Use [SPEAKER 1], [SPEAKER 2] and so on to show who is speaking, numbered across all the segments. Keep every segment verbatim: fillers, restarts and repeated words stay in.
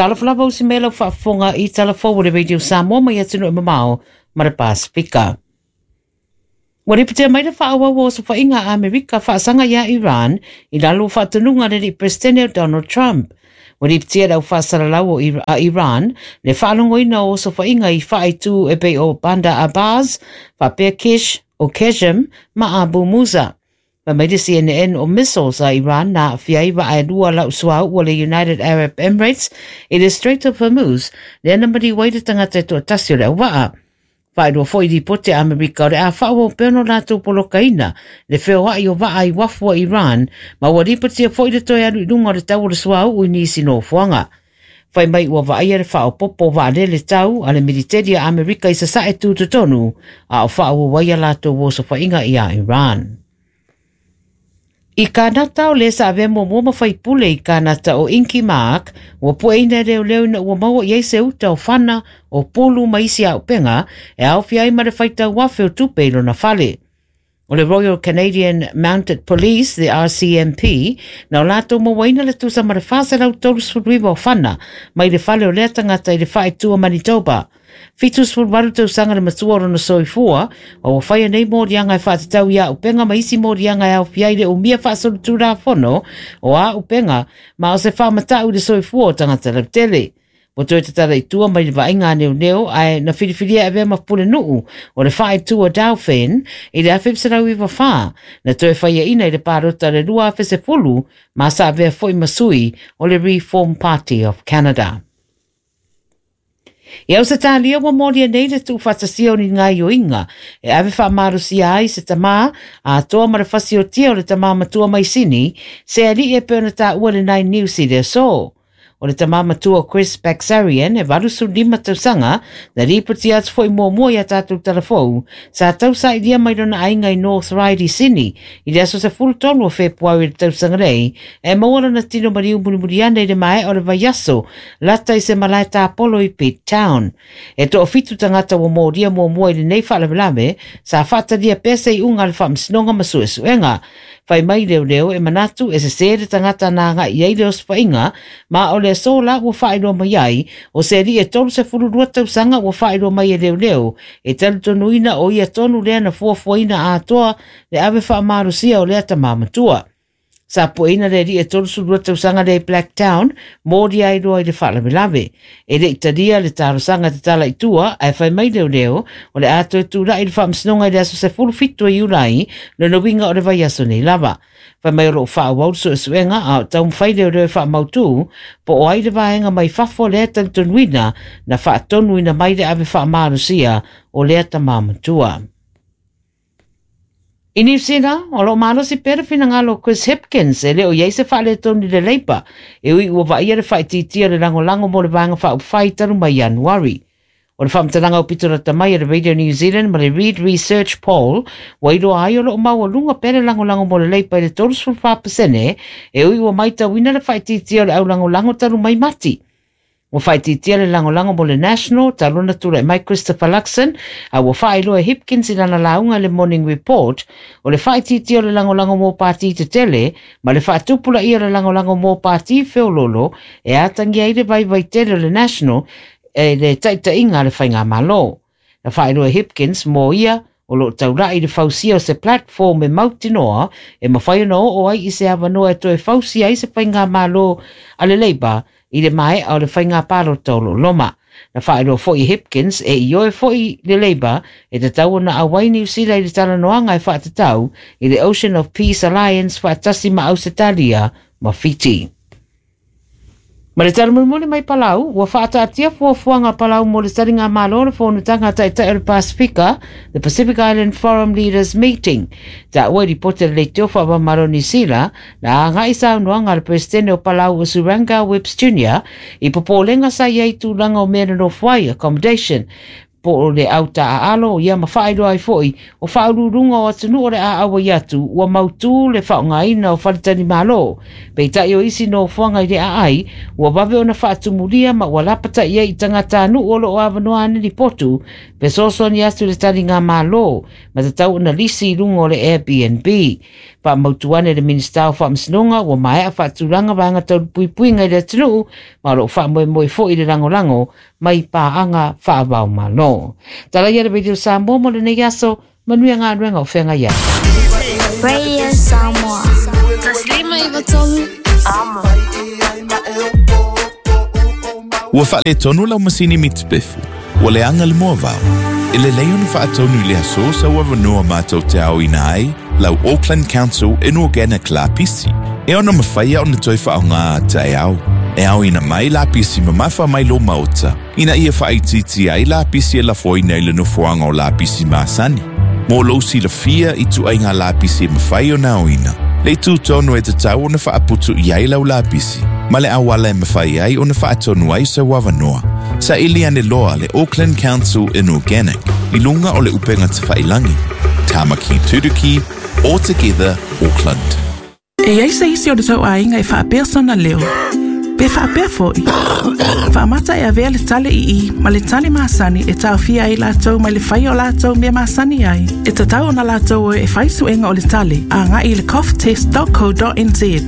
[SPEAKER 1] Talofa lava usi mai lau faafofoga i tala fou o le Radio Samoa mai atunuu e mamao ma le Pasifika. Ua lipotia mai le faaauau o osofaiga a Amerika faasaga iā Iran i lalo o faatonuga a le alii Peresetene o Donald Trump. Ua lipotia e le au faasalalau a Iran le faalogoina o osofaiga i faaitu e pei o Bandar Abbas, faapea Kish o Qeshm ma Abu Musa. Fai mai le C N N o missiles a Iran na aafia ai vaa e lua lau suauu o le United Arab Emirates i le Strait of Hormuz, lea na maliu ai le tagata e toatasi o le auvaa. Faailoa foi i lipoti a Amerika o le a faaauau pea ona latou polokaina le feoai o vaa i uafu a Iran, ma ua lipotia foi le toe alu i luga o le tau o le suauu i nisi nofoaga. Fai mai ua vaaia le faaopoopo o vaalele tau a le militeli a Amerika i sasae tutotonu, a o faaauau ai a latou osofaiga iā Iran. I Kanata o le sa avea muamua ma faipule i Kanata o Inky Mark, ua pueina e leoleo ina ua maua i ai se uta o fana, o pulu ma isi auupega, e aofia ai ma le faitau afe o tupe i lona fale. O le Royal Canadian Mounted Police, the R C M P, na o latou mauaina le tusa ma le wha selau tolusefulu iwa o fana, mai le fale o lea tangata i le whaetua Manitoba. Fitu sefulu valu tausaga le matua o lona soifua, a ua whaia nei morianga e whaatatau i auupega ma isi morianga e aofia ai le umia faasolitulafono o auupega ma o se whaamatau i le soifua o tangata lautele. Ua toe tatala i tua mai le vaaiga a neoneo ae na filifilia e avea ma pulenuu o le whaetua Dauphin i le afe selau iwa whā, na toe whaiaina i le pārota le lua afe sefulu ma sa avea foi masui o le Reform Party of Canada. I Ausetalia ua molia nei le tuufaatasia o ni ngaioiga e ave faamalosia ai se tamā atoa ma le fasiotia o le tamā matua mai Sini, se alii e pei ona taua le Nine News i le aso. O le tamā matua Chris Baksarian e valu sefulu lima tausaga na lipotia atu foi muamua ia tātou talafou sa tausailia mai lona aiga i North Ryde i Sini i le aso sefulu tolu o Fepuari i le tausaga nei e maua lona tino maliu mulimuli ana i le maea o le vaiaso lata i se malae tāpolo i Pitt Town. E toafitu tagata ua molia muamua i lenei faalavelave sa faatalia pea se iuga a le faamasinoga ma suesuega. Fai mai leoleo e manatu e sesē le tagata na agai i ai le osofaiga ma o le aso la ua faailoa mai ai o se alii e tolu sefulu lua tausaga ua faailoa mai e leoleo e talitonuina o ia tonu lea na fuafuaina atoa le ave faamalosia o lea tamā matua. Sa pueina le alii e tolu sefulu lua tausaga lea i Blacktown molia ai loa i le faalavelave. E le i talia le talosaga tatala i tua ae fai mai leoleo o le a toe tula'i le faamasinoga i le aso sefulu fitu o Iulai lona uiga o le vaiaso nei lava. Fai mai o loo faaauau le suesuega a o taumafai leoleo e faamautū po o ai le vaega mai fafo lea talitonuina na faatonuina mai le ave faamalosia o lea tamā matua. I New Zealand, o loo malosi pea le finagalo o Chris Hipkins e le o iai se faaletonu i le Labour e ui ua vaaia le faaitiitia o le lagolago mo le vaega faaupufai talu mai Ianuari. O le faamatalaga o pito lata mai a le Radio New Zealand ma le Reid Research Poll ua iloa ai o loo maualuga pea le lagolago mo le Labour i le tolu sefulu fa pasene e ui ua maitauina le faaitiitia o le aulagolago talu mai Mati. Ua faaitiitia le lagolago mo le National talu ona tula'i mai Christopher Luxon a ua faailoa e Hipkins i lana lauga i le Morning Report o le faaitiitia o le lagolago mo pāti tetele ma le faatupulaia o le lagolago mo pāti feololo e atagia ai le vaivai tele o le National e le taitaiga a le faigamalo. Na faailoa e Hipkins mo ia o loo taula'i le fausia o se platform e mautinoa e mafai ona oo ai i se avanoa e toe fausia ai se faigamalo a le Labour i le maea o le faiga palota o loo loma. Na faailoa foi e Hipkins e ioe foi le Labour e tatau ona auai New Zealand i le talanoaga e faatatau i le Ocean of Peace Alliance faatasi ma Ausetalia ma Fiti. Ma le tala mulimuli mai Palau, ua faataatia fuafuaga a Palau mo le taliga malo le fonotaga a taitai o le Pasifika, the Pacific Island Forum Leaders Meeting. Taua i lipoti a le leitio faavamalo New Zealand, na agai saunoaga a le Peresetene o Palau o Suranga Whips Junior i popolega sa i ai tulaga o mea nonofo ai, accommodation, Po o le au taʻaalo ia ma faailoa ai foʻi o faauluuluga o atunuu o le a auai atu ua mautū le faaaogaina o faletalimālō. Peitai o isi nofoaga i le aai ua vave ona faatumulia ma ua lapata'i ai i tagatanuu o loo avanoa ane lipotu fesoasoani atu le taligamālō ma tatau ona lisi i luga o le Airbnb. Faamautu ane le Minisita o Faamasinoga ua maea faatulaga vaega taulupuipuiga i le atunuu ma o loo faamoemoe foʻi le lagolago mai paaga faavaomālō. Talaia le Radio Samoa mo lenei aso, manuia galuega o feagai ai.
[SPEAKER 2] Radio Samoa. Taslima iwa tolu. Amo.
[SPEAKER 3] Ua faaletonu lau masini mitipefu, ua leaga le moavao. E lelei ona faatonu i le aso sa ua avanoa matou te aoina ai lau Auckland Council Inorganic lapisi. E ona mafaia ona toe faaaogā taeao. E aoina mai lapisi mamafa mai lo maota, ina ia faaitiitia ai lapisi e lafoina i le nofoaga o lapisi masani. Mo lou silafia i tuaiga lapisi e mafai ona aoina, le tutonu e tatau ona faaputu i ai lau lapisi, ma le auala e mafai ai ona faatonu ai sau avanoa. Saili ane loa le Auckland Council Inorganic i luga o le upega tafailagi. Tamaki Turuki, All Together Auckland.
[SPEAKER 4] E iai se isi o le tauaiga e faapea sona leo. Pe faapea foʻi. Faamata e avea le tale ii ma le tale masani e taofia ai latou mai le faia o latou mea masani ai. E tatau ona latou o e fai suega o le tale agai i le cough test dot co dot n z.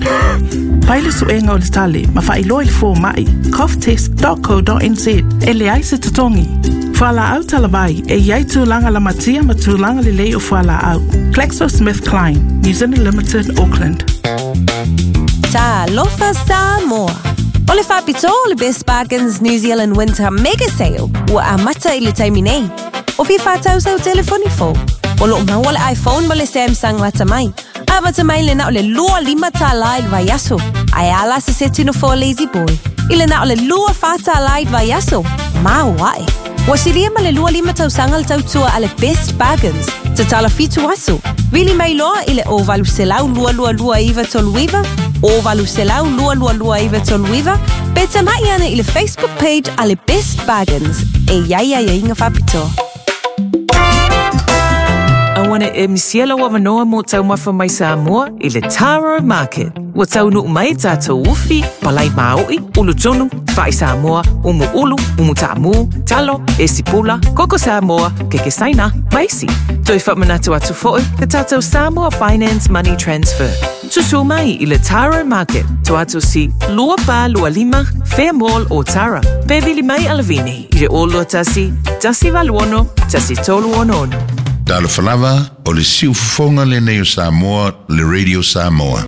[SPEAKER 4] Pai le suega o le tale ma faailoa i le fomaʻi cough test dot co dot n z e leai se totogi. Fualaau talavai e iai tulaga lamatia ma tulaga lelei o fualaau. GlaxoSmithKline, New Zealand Limited, Auckland.
[SPEAKER 5] Talofa Samoa. O le faapitoa o le Best Bargains New Zealand Winter Mega Sale ua amata i le taimi nei. O fia faatau sau telefoni fou. O loo maua le iPhone ma le Samsung lata mai. Amata mai le na o le lua lima tālā i le vaiaso. Ae ala se seti no for Lazy Boy. I le na o le lua whā tālā i le vaiaso. Mau ae. Ua silia ma le lua lima tausaga le tautua a le Best Bargains. Tatala fitu aso. Vili mai loa i le o valu selau lua lua lua iwa tolu iwa, o valu selau lua lua lua iwa tolu iwa, pe tamai ane i le Facebook page a le Best Bargains. E iai ia inga faapitoa.
[SPEAKER 6] Awana e misiela wa manoa mo taumafa mai Samoa i le Taro Market. Ua taunuu mai tātou ufi, palai maoi, ulu tunu, whai Samoa, umu ulu, umu taamu, talo, esipula, koko Samoa, keke saina, maisi. Toi whamanatu atu foʻi, te tātou Samoa Finance Money Transfer. Susu mai i le Taro Market, to atu si lua pa lua lima, Fair Mall o Tara. Pe vili mai alavini i le o lua tasi, tasi valuono, tasi tolu ono ono.
[SPEAKER 7] Talofa lava o le siufofoga lenei o Samoa, le Radio Samoa.